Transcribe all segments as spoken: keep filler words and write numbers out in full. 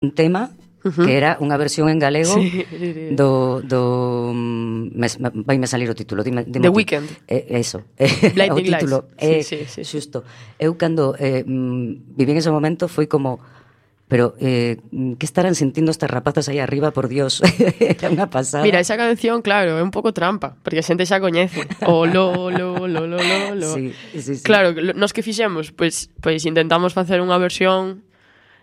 un tema uh-huh. que era unha versión en galego sí. do... do me, vai me salir o título. Dime, dime The ti. Weeknd. Eh, eso. Blinding o título. Lights. Eh, sí, sí, sí. Xusto. Eu cando eh, viví en ese momento foi como... Pero, eh, que estarán sentindo estas rapazas aí arriba, por Dios? Era unha pasada. Mira, esa canción, claro, é un pouco trampa, porque a xente xa coñece. O lo, lo, lo, lo, lo, lo. Sí, sí, sí. Claro, nos que fixemos, pois, pois intentamos facer unha versión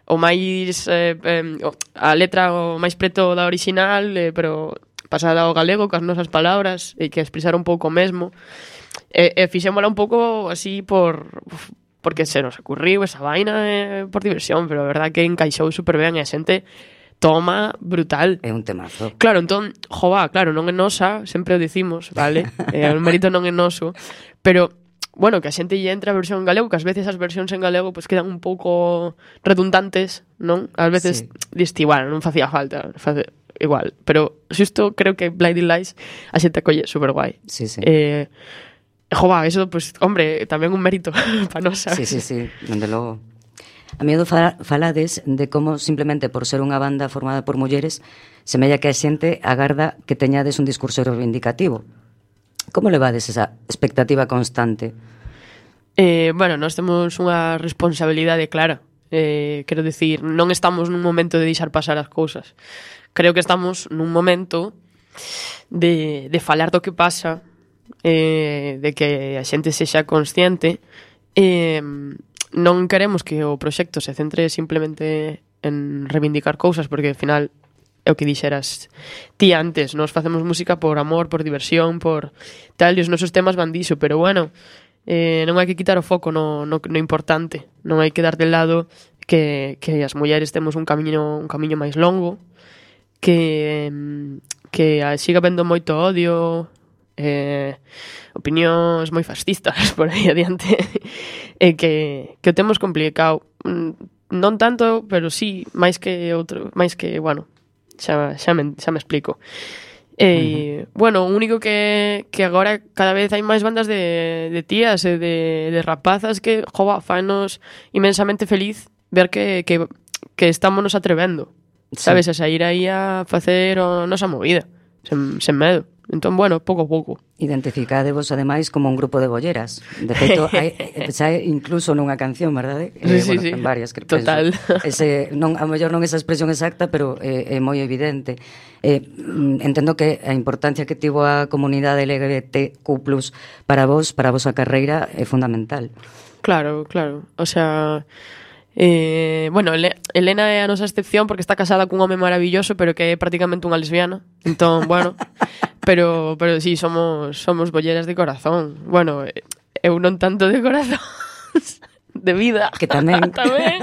o máis eh, eh, a letra o máis preto da original, eh, pero pasada ao galego cas nosas palabras e que expresar un pouco mesmo. E, e fixémola un pouco así por porque se nos ocurriu esa vaina eh, por diversión, pero a verdad que encaixou super ben e a xente toma brutal. É un temazo. Claro, entón, jova, claro, non é nosa, sempre o dicimos, vale? eh, o mérito non é noso, pero bueno, que a xente lle entra a versión en galego, que ás veces as versións en galego pues quedan un pouco redundantes, non? Ás veces sí. Diste igual, non facía falta, face, igual, pero xusto creo que Blinding Lights a xente acolle super guai. Sí, sí. Eh, jova, eso, pues, hombre, tamén un mérito para nós, sabes? Sí, sí, sí, dende logo. A miedo falades de como simplemente por ser unha banda formada por mulleres semella que a xente agarda que teñades un discurso reivindicativo. Como levades esa expectativa constante? Eh, bueno, nós temos unha responsabilidade clara. Eh, quero dicir, non estamos nun momento de deixar pasar as cousas. Creo que estamos nun momento de, de falar do que pasa, eh, de que a xente sexa consciente. Eh, non queremos que o proxecto se centre simplemente en reivindicar cousas, porque ao final é o que dixeras ti antes, nos facemos música por amor, por diversión, por tal, e os nosos temas van diso, pero bueno, eh, non hai que quitar o foco no, no, no importante, non hai que dar de lado que, que as mulleres temos un camiño un camiño máis longo, que, que siga vendo moito odio, eh, opinións moi fascistas por aí adiante, e que, que o temos complicado, non tanto, pero sí, máis que outro, máis que, bueno, xa, xa, me, xa me explico. E, uh-huh. Bueno, o único que, que agora cada vez hai máis bandas de, de tías e de, de rapazas que, jova, fanos inmensamente feliz ver que, que, que estamos nos atrevendo, sabes, sí. A sair aí a facer a nosa movida, sen, sen medo. Entón, bueno, pouco a pouco. Identificadevos, ademais, como un grupo de bolleras. De feito, hai, xa incluso nunha canción, verdade? Sí, eh, sí, bueno, sí. En varias, que total. Penso. Ese, non, a mellor non esa expresión exacta, pero é, é moi evidente. Eh, entendo que a importancia que tivo a comunidade L G B T Q plus, para vos, para a vosa carreira, é fundamental. Claro, claro. O sea... Eh, bueno, Elena é a nosa excepción porque está casada cun home maravilloso, pero que é prácticamente unha lesbiana. Entón, bueno, pero pero sí, somos somos bolleras de corazón. Bueno, eu non tanto de corazón, de vida. Que tamén. tamén.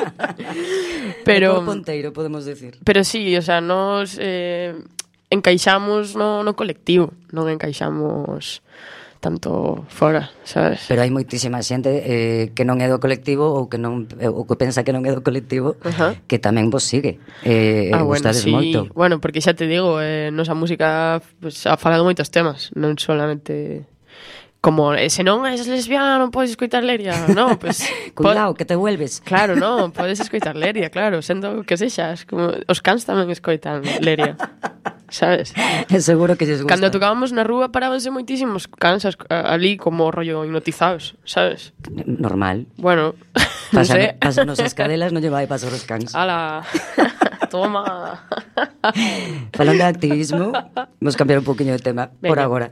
Pero de ponteiro, podemos decir. Pero sí, o sea, nos eh, encaixamos no, no colectivo, non encaixamos tanto fora, sabes? Pero hai moitísima xente eh, que non é do colectivo ou que non ou que pensa que non é do colectivo, uh-huh. que tamén vos sigue. Eh, ah, bueno, gustades sí. moito. Bueno, porque xa te digo, eh, nosa música pues, ha falado moitos temas, non solamente como, eh, se non és lesbiana non podes escoitar Leria. No, pues, cuidado, po- que te vuelves. Claro, no, podes escoitar Leria, claro, sendo que sexas, como os cans tamén escoitan Leria. Sabes? É seguro que lles gusta. Cando tocábamos na rúa parábanse moitísimos cansas ali como rollo hipnotizados, sabes? Normal. Bueno, non Pasa, sei. Pásanos as cadelas, non lle vai pasar os cans. Ala, toma. Falando de activismo, vamos cambiar un poquinho de tema. Venga. Por agora.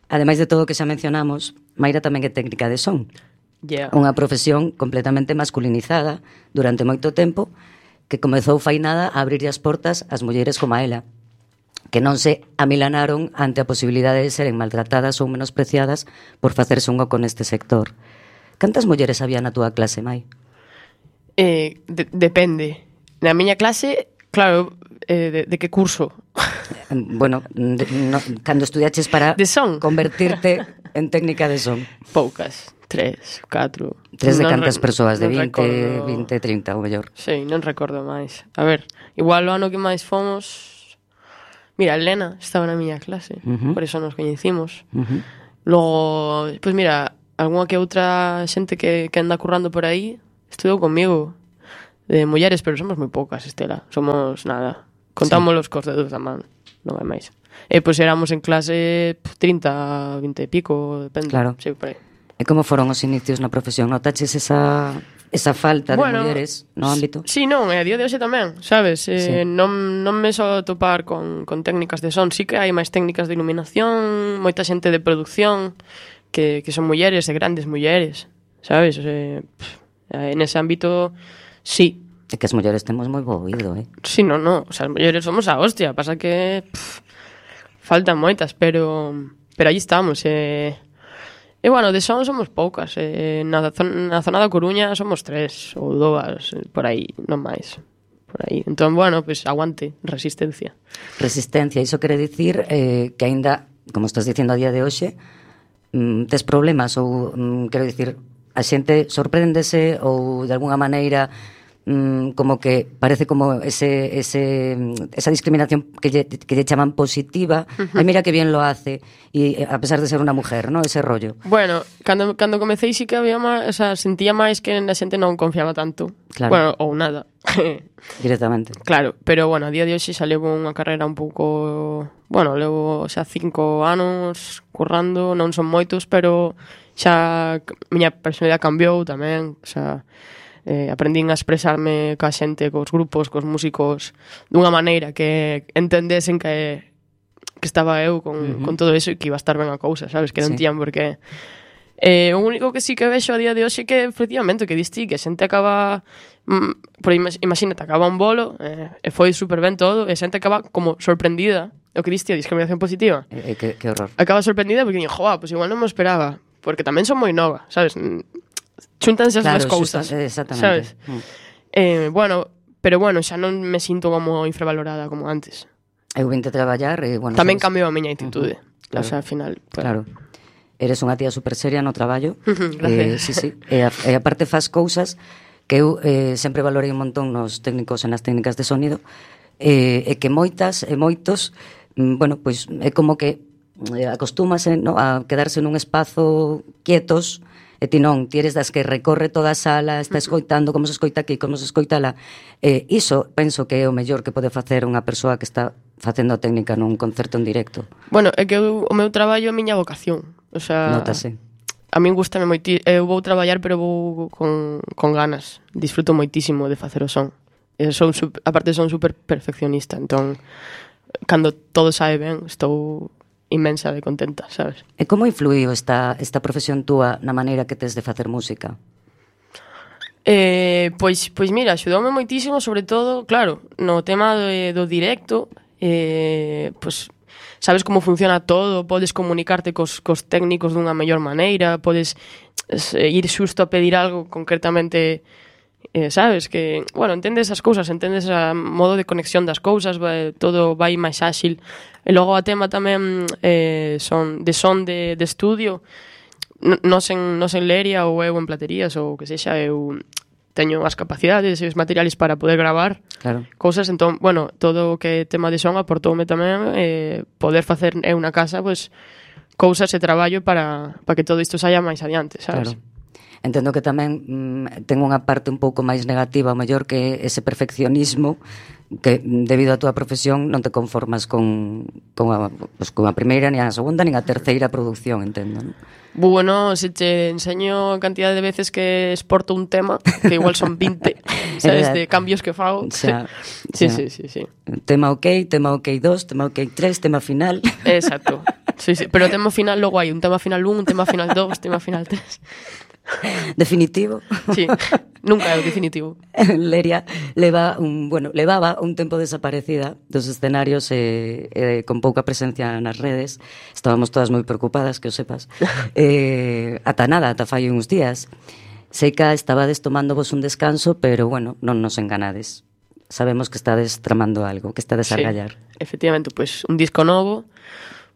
Ademais de todo o que xa mencionamos, Mayra tamén é técnica de son. Yeah. Unha profesión completamente masculinizada durante moito tempo que comezou fai nada a abrirlle as portas ás mulleres como a ela, que non se amilanaron ante a posibilidade de seren maltratadas ou menospreciadas por facerse un oco neste sector. Cantas mulleres había na túa clase, Mai? Eh, de, depende. Na miña clase, claro, eh, de, de que curso? Bueno, de, no, cando estudiaches para de son. Convertirte en técnica de son. Poucas, tres, catro. Tres de non cantas re, persoas, de vinte, recordo... vinte, trinta, ou mellor. Sí, non recordo máis. A ver, igual o ano que máis fomos... Mira, Elena estaba na miña clase, uh-huh. por eso nos coñecimos. Uh-huh. Logo, pois pues mira, algunha que outra xente que, que anda currando por aí estudou comigo. de mulleres, pero somos moi poucas, Estela. Somos nada. Contámolos cos dedos da man, non hai máis. E pois éramos en clase trinta, vinte e pico, depende. Claro. Sí, por aí. E como foron os inicios na profesión? Notaches esa, esa falta bueno, de mulleres no ámbito? Sí, non, e a día de hoxe tamén, sabes? Eh, sí. non, non me só topar con, con técnicas de son, sí que hai máis técnicas de iluminación, moita xente de producción, que, que son mulleres, e grandes mulleres, sabes? Eh, en ese ámbito, sí. É que as mulleres temos moi bo oído, eh? Sí, non, non, o sea, as mulleres somos a hostia, pasa que pff, faltan moitas, pero pero aí estamos, eh. E, bueno, de son somos poucas, eh, na, zona, na zona da Coruña somos tres ou dúas, por aí, non máis, por aí. Entón, bueno, pues aguante, resistencia. Resistencia, iso quere dicir eh, que aínda, como estás dicindo a día de hoxe, mm, tes problemas ou, mm, quero dicir, a xente sorpréndese ou de alguna maneira como que parece como ese, ese esa discriminación que lle, que lle chaman positiva. Uh-huh. Ay, mira que bien lo hace, y a pesar de ser una mujer, ¿no? Ese rollo. Bueno, cando, cando comecei sí que había máis, o sea, sentía máis que a xente non confiaba tanto. Claro. Bueno, ou nada. Directamente. Claro, pero bueno, a día de hoxe xa levo unha carreira un pouco... Bueno, levo xa cinco anos currando, non son moitos, pero xa miña personalidade cambiou tamén, o sea... Eh, aprendín a expresarme coa xente, cos grupos, cos músicos dunha maneira que entendesen que que estaba eu con, uh-huh. con todo eso e que iba a estar ben a cousa, sabes? Que non sí. Tían por qué. Eh, o único que sí que vexo a día de hoxe que efectivamente, que diste, que a xente acaba mm, por imagínate, acaba un bolo eh, e foi super ben todo e a xente acaba como sorprendida, o que diste, a discriminación positiva. Eh, eh, que, que horror. Acaba sorprendida porque dixen, joa, pois pues igual non me esperaba, porque tamén son moi nova, sabes? Xúntanse as claro, dúas cousas, exactamente. Sabes? Mm. Eh, bueno, pero bueno, xa non me sinto como infravalorada como antes. Eu vinte a traballar e, bueno... Tamén sabes? cambiou a miña actitude. Uh-huh. Claro. O sea, ao final... Pues... Claro. Eres unha tía super seria no traballo. Gracias. Eh, sí, sí. E, a, e aparte faz cousas que eu eh, sempre valorei un montón nos técnicos e nas técnicas de sonido, eh, e que moitas e moitos, mm, bueno, pois pues, é como que eh, acostúmase, no, a quedarse nun espazo quietos. E ti non, ti eres das que recorre toda a sala, está escoitando como se escoita aquí, como se escoita lá. Eh, iso penso que é o mellor que pode facer unha persoa que está facendo técnica nun concerto en directo. Bueno, é que eu, o meu traballo é a miña vocación. O sea, notase. A min gustame moitísimo. Eu vou traballar, pero vou con, con ganas. Disfruto moitísimo de facer o son. E son, aparte son super perfeccionista, entón, cando todo sae ben, estou... inmensa de contenta, sabes? E como influiu esta, esta profesión túa na maneira que tes de facer música? Eh, pois, pois mira, axudoume moitísimo, sobre todo, claro, no tema do, do directo, eh, pois, sabes como funciona todo, podes comunicarte cos, cos técnicos dunha mellor maneira, podes eh, ir xusto a pedir algo concretamente... Eh, sabes, que, bueno, entendes as cousas, entendes a modo de conexión das cousas, vai, todo vai máis áxil. E logo a tema tamén eh, son de son de, de estudio, nos en, nos en Leria ou eu en Platerías ou que sexa, eu teño as capacidades e os materiales para poder gravar claro. Cousas, entón, bueno, todo o que tema de son aportoume tamén eh, poder facer eu na casa, pois, cousas e traballo para, para que todo isto saia máis adiante, sabes? Claro. Entendo que tamén mm, ten unha parte un pouco máis negativa, o mellor que ese perfeccionismo que debido á túa profesión non te conformas con, con, a, pues, con a primeira, ni a segunda, ni a terceira produción, entendo, non? Bueno, se te enseño a cantidad de veces que exporto un tema, que igual son vinte, sabes, de cambios que fago. Xa, sí, xa. sí, sí, sí. Tema ok, tema ok dos, tema ok tres, tema final. Exacto. Sí, sí, pero tema final logo hai un tema final un, un tema final dos, tema final tres. Definitivo. Sí, nunca é o definitivo. Leria leva un, bueno, levaba un tempo desaparecida dos escenarios e, e con pouca presencia nas redes. Estábamos todas moi preocupadas, que o sepas. Eh, ata nada, ata fai uns días. Sei que estabades tomándovos un descanso, pero bueno, non nos enganades. Sabemos que estades tramando algo, que estades a gallar. Sí, efectivamente, pues un disco novo,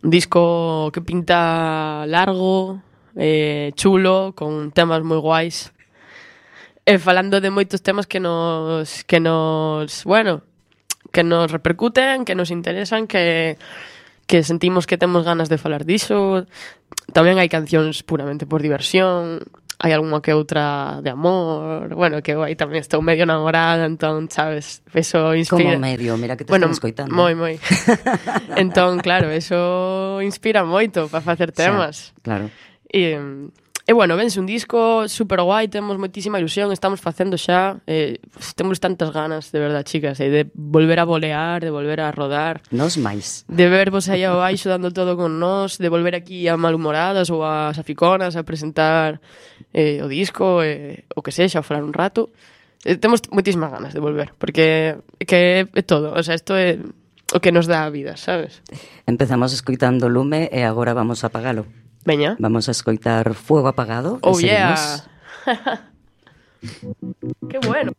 un disco que pinta largo, eh, chulo, con temas moi guais, e falando de moitos temas que nos que nos, bueno, que nos repercuten, que nos interesan, que que sentimos que temos ganas de falar diso. Tamén hai cancións puramente por diversión. hai algunha que outra de amor, bueno, que aí tamén estou medio namorada, entón, sabes, eso inspira... Como medio, mira que te bueno, están escoitando. moi, moi. Entón, claro, eso inspira moito para facer temas. Xa, claro. E, e bueno, vense un disco super guai, temos moitísima ilusión, estamos facendo xa, eh, temos tantas ganas, de verdad, chicas, eh, de volver a volear, de volver a rodar. Nos máis. De vervos aí abaixo dando todo con nós, de volver aquí a Malhumoradas ou a Saficonas a presentar eh, o disco, eh, o que sexa, a falar un rato. Eh, temos moitísimas ganas de volver, porque que é todo, o sea, isto é o que nos dá a vida, sabes? Empezamos escoitando Lume e agora vamos a apagalo. Veña. Vamos a escoitar Fuego Apagado. Oh, e yeah. seguimos. Qué bueno.